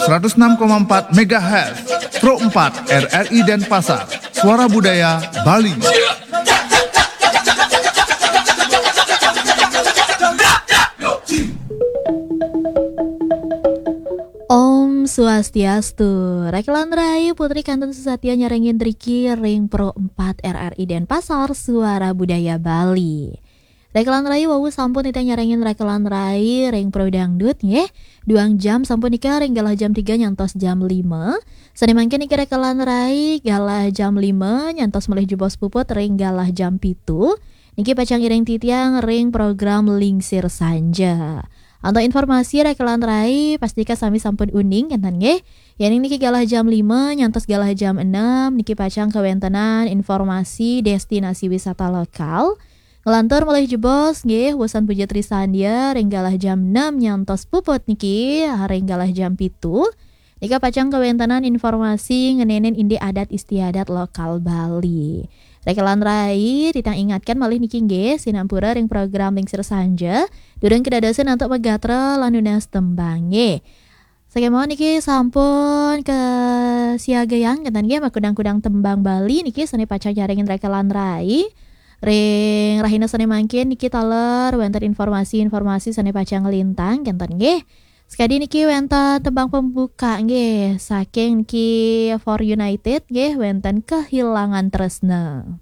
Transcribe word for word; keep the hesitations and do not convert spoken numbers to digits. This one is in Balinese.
seratus enam koma empat megahertz, Pro empat R R I Denpasar, Suara Budaya Bali. Om Swastiastu. Rekelan Rai Putri Kanten Susatya nyarengin riki ring Pro empat R R I Denpasar, Suara Budaya Bali. Rekelan Rai wau sampun titah nyarengin Rekelan Rai ring Pro Dangdut nggih. Duang jam sampun nika ring galah jam tiga nyantos jam lima. Sane mangkin niki Rekelan Rai galah jam lima nyantos malih jebos puput ring galah jam pitu. Niki pacang iring titiang ring program Lingsir Sanja. Antuk informasi Rekelan Rai, pastika sami sampun uning kenten nggih. Yening niki galah jam lima nyantos galah jam enam, niki pacang kawentenan informasi destinasi wisata lokal. Nglantur malih jebos nggih, wusan Puja Trisandya ring galah jam enam nyantos puput niki ring galah jam pitu. Nika pacang kawentenan informasi ngenenin indik adat istiadat lokal Bali. Rekelan Rai, titang ingatkan malih niki nggih, sinampura ring program Lingsir Sanja, durung kedadosan antuk magatra lan nunas tembang nggih. Sakemawon niki sampun kasiagayang kenten nggih makudang-kudang tembang Bali niki sane pacang nyarengin Rekelan Rai. Ring rahina sane mangkin niki taler wenten informasi-informasi sane pacang nglintang kenten nggih. Sekadi niki wenten tembang pembuka nggih saking niki Four United nggih wenten Kehilangan Tresna.